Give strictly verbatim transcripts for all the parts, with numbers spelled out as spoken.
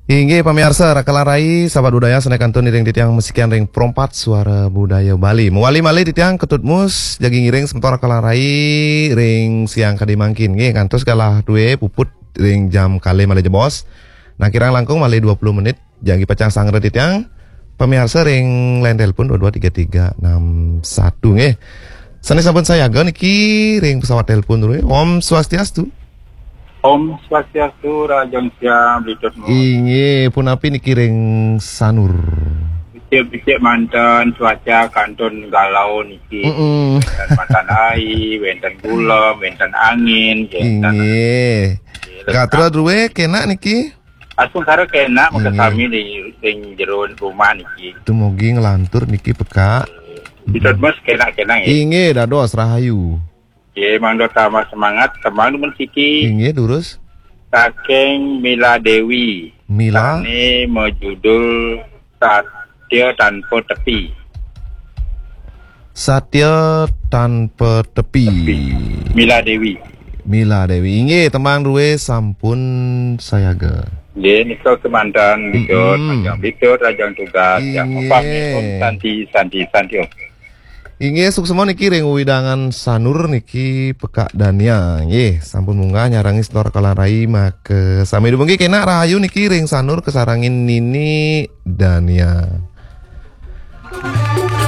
Inggih pamiarsa, Raka lan Rai, sahabat budaya, sané kantun iring titiang masikian ring Pro empat Suara Budaya Bali. Mawali malih titiang Ketut Mus, jagi ngiring semeton Raka lan Rai ring siang kadi mangkin. Nggih, ngantos galah dué puput ring jam kalih malih jebos. Nah, kirang langkung malih dua puluh menit, jagi pacang sangra titiang. Pamiarsa ring line telepon dua dua tiga tiga enam satu, nggih. Sané sampun sayaga niki ring pesawat telepon dulu, ya. Om Swastiastu. Om Swastiastu, Rahajeng Siang, Bli Tut Mus. Inggih, punapi niki ring Sanur? Becik-becik manten, cuaca kantun galau niki. Mm-mm. Wénten matan ai, wénten gulem, wénten angin, wénten. Inggih. Inggih, gatra drué kénak niki? Asung sara kénak, maka. Inggih. Sami di ring jero rumah niki. Dumugi nglantur niki pekak. Bli Tut Mus kénak-kénak, ya. Inggih, dados rahayu. Nggih, mangda tambah semangat, tembang dumun siki. Inggih, durus. Saking Mila Dewi. Mila? Sané majudul Satya Tanpa Tepi. Satya Tanpa Tepi. Tepi. Mila Dewi. Mila Dewi. Inggih, tembang drué sampun sayaga. Nggih, nika kémanten, Bli Tut, mm-mm, Rahajeng Bli Tut, Rahajeng tugas. Ya, inggih. Upami Om Santi, Santi, Santi, Om. Inggih, suksma niki ring wewidangan Sanur niki Pekak Dania. Nggih, sampun munggah nyarengan semeton Raka lan Rai, maka sami dumun nggih, kénak rahayu niki ring Sanur kasarengin Nini Dania.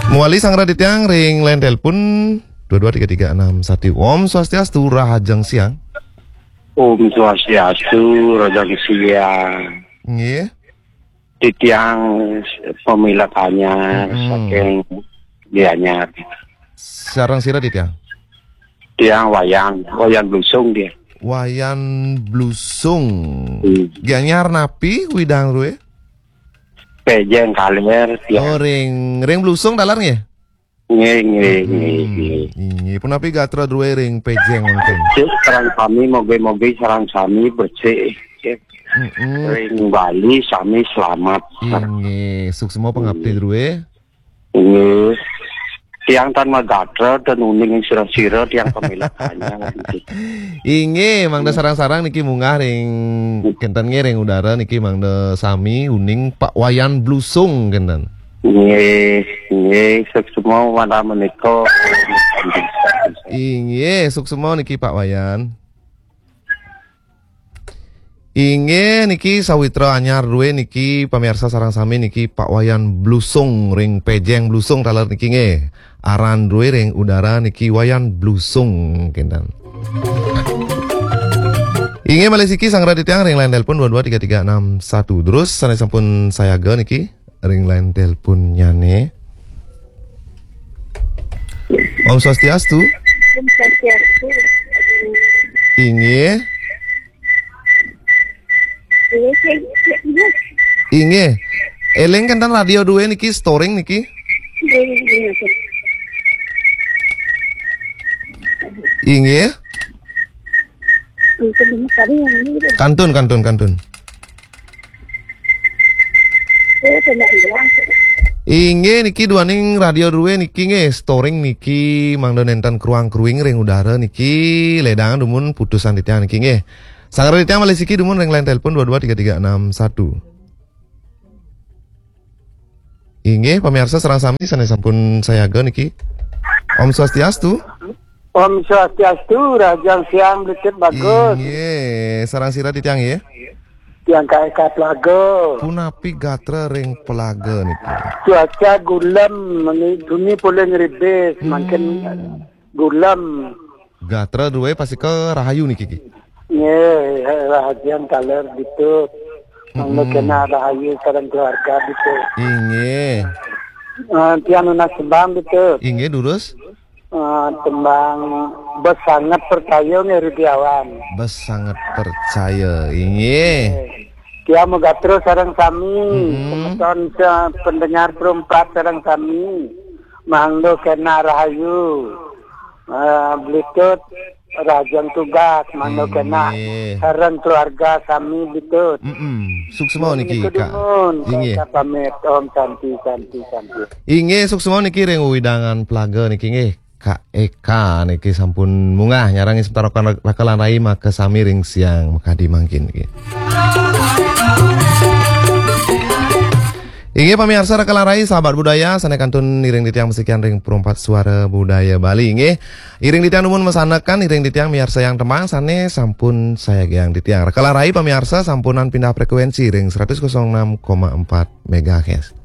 Mawali sangra titiang ring line telepon dua dua tiga tiga enam satu. Om Swastiastu, Rahajeng Siang. Om Swastiastu, Rahajeng Siang. Nggih. Titiang pamilet anyar, mm-mm, saking Gianyar. Sareng sira titiang? Tiang Wayan, Wayan Blusung dia. Wayan Blusung. Hmm. Gianyar napi wewidangan drué? Pejeng Kaler, tiang. Oh, ring, ring Blusung taler nggih? Nggih, nggih, nggih, mm-mm, nggih. Inggih, punapi gatra drué ring Pejeng wénten? Cek, sareng sami, mogi-mogi sareng sami becik. Mm-mm. Ring Bali sami slamet. Inggih, suksma pangapti, mm, drué. Inggih. Tiang tan magatra, tan uning ing sira-sira, tiang pamilet anyar. Inggih, mangda, hmm, sareng-sareng niki munggah ring, hmm, kénten nggih, ring udara niki mangda sami uning Pak Wayan Blusung kénten. Nggih, nggih, suksma wantah menika. Inggih, suksma niki Pak Wayan. Inggih niki sawitra anyar drué niki pamiarsa sareng sami niki Pak Wayan Blusung ring Pejeng Blusung taler niki nggih. Aran drué ring udara niki Wayan Blusung kénten. Inggih malih siki sangra titiang ring line telepon dua dua tiga tiga enam satu. Terus sané sampun sayaga niki ring line teleponnyané. Om Swastiastu. Om Swastiastu. Inggih. Inggih, sing, sing, inggih. Inggih. Éling kénten radio drué niki, storing niki. Inggih, inggih, inggih. Inggih. Inggih, tadi yang ini. Kantun, kantun, kantun. Inggih niki duaning radio drué niki nggih, storing niki mangda nénten kruang-kruing ring udara niki, lédangang dumun putusan titiang niki nggih. Sangra titiang malih siki dumun ring line telepon dua dua tiga tiga enam satu. Inggih, pamiarsa sareng sami sané sampun sayaga niki. Om Swastiastu. Om Swastiastu, Rahajeng Siang Bli Tut Bagus. Inggih, sareng sira titiang nggih? Tiang K E K Pelaga. Punapi gatra ring Pelaga niki? Cuaca gulem, meni-, duni polih ngribis, hmm, mangkin gulem. Gatra drué pastika rahayu niki, Ki? Nggih, rahajeng taler Bli Tut. Mangda, mm-mm, kénak rahayu sareng keluarga Bli Tut. Inggih. Ah, tiang nunas tembang Bli Tut. Inggih, durus. Ah, tembang Bes Sanget Percaya nggih, Rudi Awan. Bes Sanget Percaya, inggih. Nggih. Tiang magatra sareng sami, mm-mm, semeton sa-, pendengar Pro empat sareng sami. Mangda kénak rahayu. Ah, Bli Tut rahajeng tugas, mangda kénak, inggih, sareng keluarga sami Bli Tut. Mm-mm. Suksma niki, Kak. Inggih. Kak pamit, Om Santi, Santi, Santi. Inggih, suksma niki ring wewidangan Pelaga niki nggih. Kak Eka niki sampun munggah nyarengan semeton Raka lan Rai maka sami ring siang makadi mangkin niki. Inggih pamiarsa, raka lan rai sahabat budaya sané kantun iring titiang masikian ring Perumpat Suara Budaya Bali. Inggih, iring titiang dumun masanekan, iring titiang miarsa yang tembang sané sampun sayagiang titiang. Raka lan rai pamiarsa sampunang pindah frekuensi ring seratus kosong enam koma empat megahertz.